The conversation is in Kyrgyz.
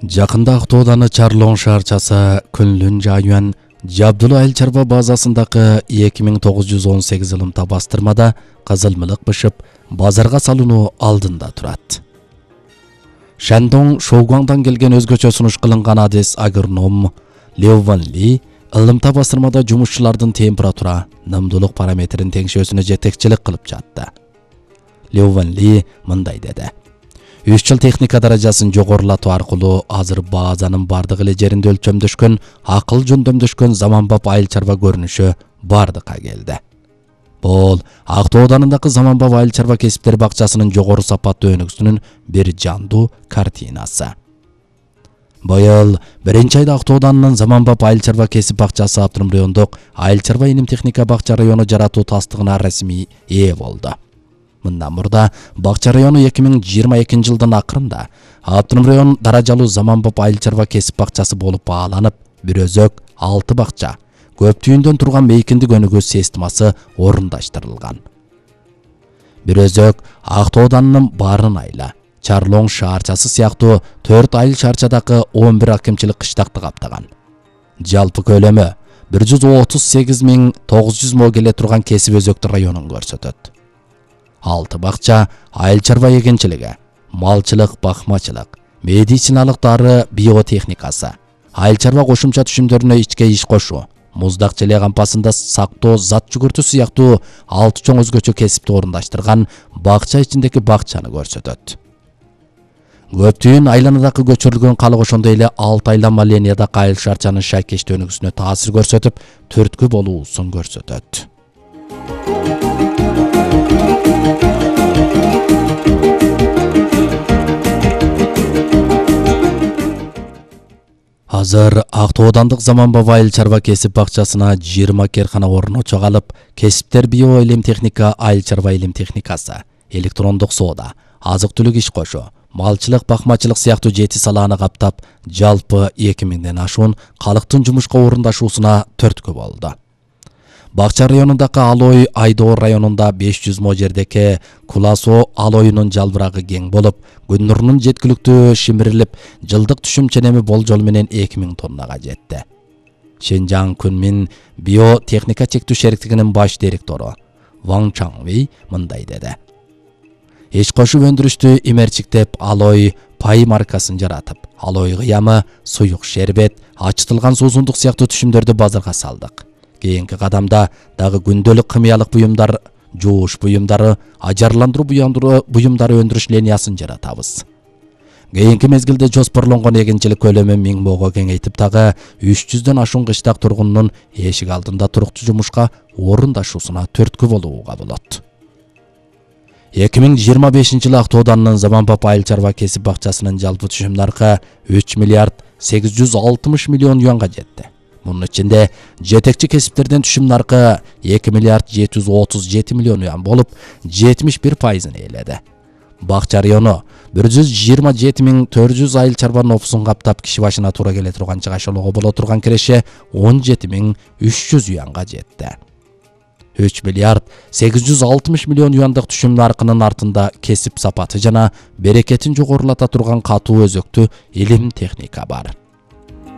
Жакында Ақтооданы Чарлон шаарчасы күнлүн жайын Жабдулла айыл чарба базасындагы 2918 ылымта бастырмада кызылмылык бышып, базарга салынуу алдында турат. Шандон Шоугуаңдан келген өзгөчө сунуш кылынган адис агроном Лео Ван Ли ылымта бастырмада жумушчулардын температура, нымдуулук параметрин теңшөөсүнө жетекчилик кылып жатты. Лео Ван Ли мындай деди: 3 жыл техника даражасын жогорулатуу аркылуу азыр базанын бардык эле жеринде өлчөмдөшкөн, акыл жөндөмдөшкөн заманбап айыл чарба көрүнүшү бардыкка келди. Бул Ақтоодандагы заманбап айыл чарба кесиптер бакчасынын жогору сапаттуу өнүгүүсүнүн бир жандуу картинасы. Быйыл 1-айда Ақтоодандын заманбап айыл чарба кесип бакчасы Автоном райондук айыл чарба илим техника бакча району жаратуу тастыгына расмий ээ болду. Мындан мурда бакча району 2022 жылдын акырында Автоном район даражалуу заманбап айыл чарба кесип бакчасы болуп бааланып, бир өзөк 6 бакча, көп түйүндөн турган мейкиндик өнүгүү системасы орундаштырылган. Бир өзөк Ақтоодандын баарын айла, Чарлон шаарчасы сыяктуу 4 айыл шаарчадагы 11 акимчилик кыштакты каптаган. Жалпы көлөмү 138.900 мо келе турган кесип өзөктү районун көрсөтөт. 6 бакча айыл чарба эгенчилиги, малчылык, бакмачылык, медициналык дары биотехникасы, айыл чарба кошумча түшүмдөрүнө ичке иш кошуу, муздак желе кампасында сактоо, зат жүгүртүү сыяктуу 6 чоң өзгөчө кесипти орундаштырган бакча ичиндеги бакчаны көрсөтөт. Көптүйүн айланадагы көчүрүлгөн калык ошондой эле 6 айланма линиядагы айыл шаарчанын шайкештүү өнүгүүсүнө таасир көрсөтүп, түрткү болуусун көрсөтөт. Азыр Ақтоодандык заманбап айыл чарба кесип бакчасына 20 керкана орночо калып, кесиптер био илим техника, айыл чарба илим техникасы, электрондук соода, азык-түлүк иш кошуу, малчылык, бакмачылык сыяктуу 7 салааны каптап, жалпы 2000ден ашуун калктын жумушка орундашуусуна түрткү болду. Бакча районундагы Алой Айдоор районунда 500 мо жердеки Куласо Алойунун жалбырагы кең болуп, күн нурунун жеткиликтүү шимирилип, жылдык түшүм ченеми болжол менен 2000 тоннага жетти. Шенжаң Күнмин биотехника чектүү шериктигинин баш директору Ван Чаңви мындай деди: Иш кошуп өндүрүштү имерчиктеп Алой пай маркасын жаратып, Алой кыямы, суюк шербет, ачытылган суусундук сыяктуу түшүмдөрдү базарга салдык. Кийинки кадамда дагы күндөлүк кымыялык буюмдар, жууш буюмдары, ажарландыруу буюмдары өндүрүш линиясын жаратабыз. Кийинки мезгилде жоспорлонгон эгенчилик көлөмү 1000 мого кеңейтип, дагы 300дөн ашуун кыштак тургунунун эшик алдында туруктуу жумушка орундашуусуна түрткү болууга болот. 2025 жылы Ақтоодандын заманбап айыл чарба кесип бакчасынын жалпы түшүм наркы 3 миллиард 860 миллион юанга жетти. Мунун ичинде жетекчи кесиптерден түшүм наркы 2 миллиард 737 миллион юан болуп, 71% ээледи. Бакча району 127.400 айыл чарбанын опусун каптап, киши башына туура келе турган жашоого боло турган киреше 17.300 юанга жетти. 3 миллиард 860 миллион юандык түшүм наркынын артында кесип сапаты жана берекетин жогорулата турган катуу өзөктүү илим техника бар.